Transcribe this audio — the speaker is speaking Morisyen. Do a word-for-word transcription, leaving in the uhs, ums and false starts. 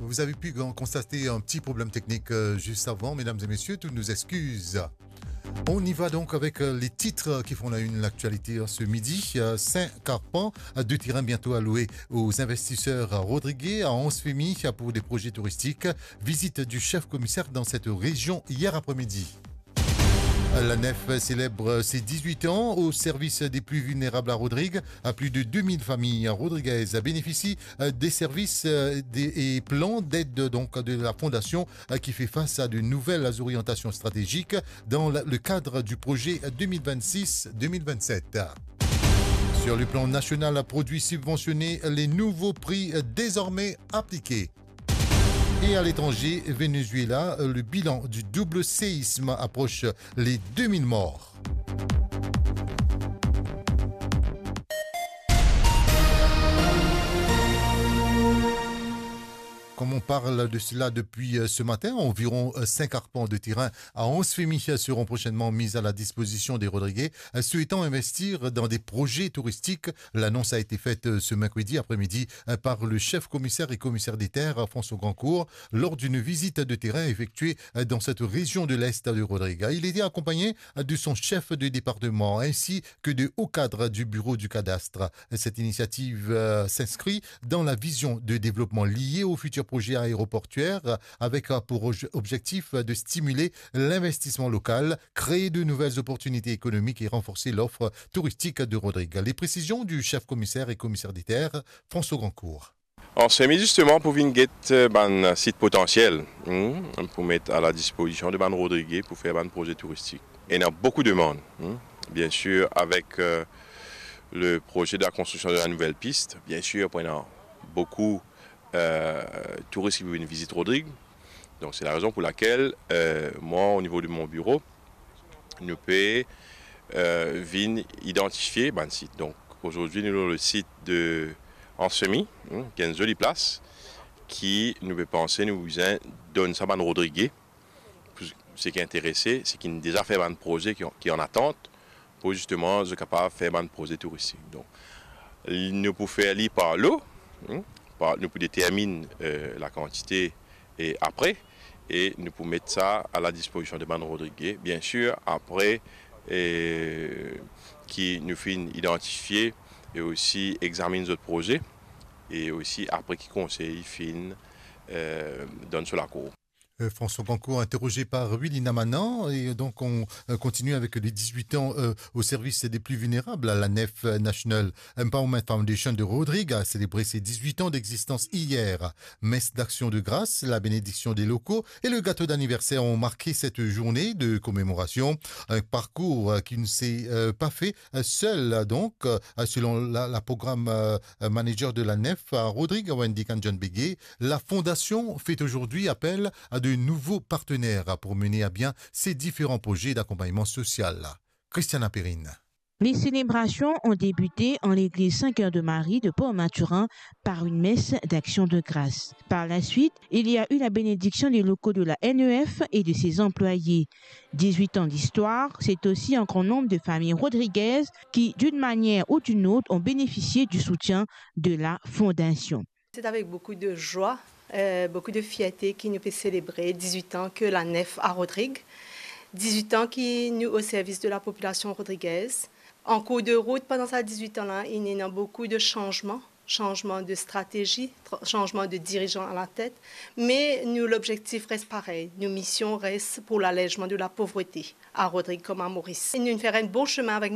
Vous avez pu con-, constater un petit problème technique, euh, juste avant. Mesdames et messieurs, toutes nos excuses. On y va donc avec, euh, les titres qui font la une de l'actualité, euh, ce midi. Euh, cinq arpents, euh, de terrain bientôt alloués aux investisseurs, euh, rodriguais, à onze familles, euh, pour des projets touristiques. Visite du chef commissaire dans cette région hier après-midi. La NEF célèbre ses dix-huit ans au service des plus vulnérables à Rodrigue. Plus de deux mille familles rodriguaises bénéficient des services, euh, des, et plans d'aide donc de la fondation, euh, qui fait face à de nouvelles orientations stratégiques dans la, le cadre du projet deux mille vingt-six deux mille vingt-sept. Sur le plan national, produits subventionnés, les nouveaux prix, euh, désormais appliqués. Et à l'étranger, Venezuela, le bilan du double séisme approche les deux mille morts. Comme on parle de cela depuis, euh, ce matin, environ, euh, cinq arpents de terrain à onze familles seront prochainement mis à la disposition des Rodriguais, euh, souhaitant investir dans des projets touristiques. L'annonce a été faite, euh, ce mercredi après-midi, euh, par le chef commissaire et commissaire des terres, euh, François Grandcourt, lors d'une visite de terrain effectuée, euh, dans cette région de l'Est de Rodrigue. Il était accompagné, euh, de son chef de département ainsi que de hauts cadres du bureau du cadastre. Cette initiative, euh, s'inscrit dans la vision de développement liée au futur projet aéroportuaire, euh, avec, euh, pour obje-, objectif de stimuler l'investissement local, créer de nouvelles opportunités économiques et renforcer l'offre touristique de Rodrigue. Les précisions du chef commissaire et commissaire des terres, François Grandcourt. An semi zisteman pou vinn get, eh, bann sit potansiel, hmm, pou met a la dispozision de bann Rodrige pou fer bann proze touristik. Ena boukou demann, hmm. Bien sir, avek, eh, le proze de la konstriksion de la nouvel pis, bien sir, pou ena boukou, eh, touris ki pou vinn vizit Rodrig. Donk, se la rezon pou lakel, eh, mwa, o nivo de mon biro, nou pe, eh, vinn idantifie bann sit. Donk, azordi, nou lor le sit de Ansemi, hmm, ki enn zoli plas, ki nou pe panse nou bizin donn sa bann Rodrige, pou seki interese, seki deza fer bann proze ki, ki an atant, pou zisteman zot kapav fer bann proze touristik. Donk, nou pou fer li par lo, hmm, par, nou pou determinn, eh, lakantite e apre, e nou pou met sa a la dispozision de bann Rodrige. Bien sir, apre, eh, ki nou finn idantifie e osi examinn zot proze, e osi apre ki konsey finn, eh, donn so lakour. Euh, François Grandcourt, interrogé par Willy Namanan. Et donc, on, euh, continue avec les dix-huit ans, euh, au service des plus vulnérables. La NEF, euh, National Empowerment Foundation de Rodrigue a célébré ses dix-huit ans d'existence hier. Messe d'action de grâce, la bénédiction des locaux et le gâteau d'anniversaire ont marqué cette journée de commémoration. Un parcours, euh, qui ne s'est, euh, pas fait, euh, seul, donc, euh, selon la, la programme, euh, manager de la NEF à Rodrigue, Wendy Kanjan Bégué. La fondation fait aujourd'hui appel à de nouveaux partenaires pour mener à bien ses différents projets d'accompagnement social. Christiana Perrine. Les célébrations ont débuté en l'église Saint-Cœur de Marie de Port-Mathurin par une messe d'action de grâce. Par la suite, il y a eu la bénédiction des locaux de la N E F et de ses employés. Dix-huit ans d'histoire, c'est aussi un grand nombre de familles rodriguaises qui, d'une manière ou d'une autre, ont bénéficié du soutien de la Fondation. C'est avec beaucoup de joie, euh, beaucoup de fierté que nous pouvons célébrer dix-huit ans que la NEF à Rodrigue. Dix-huit ans que nous au service de la population rodriguaise. En cours de route, pendant ces dix-huit ans-là, il y a eu beaucoup de changements, changement de stratégie, tra-, changement de dirigeants à la tête, mais nous, l'objectif reste pareil. Nos missions restent pour l'allègement de la pauvreté à Rodrigue comme à Maurice. Et nous faisons un bon chemin avec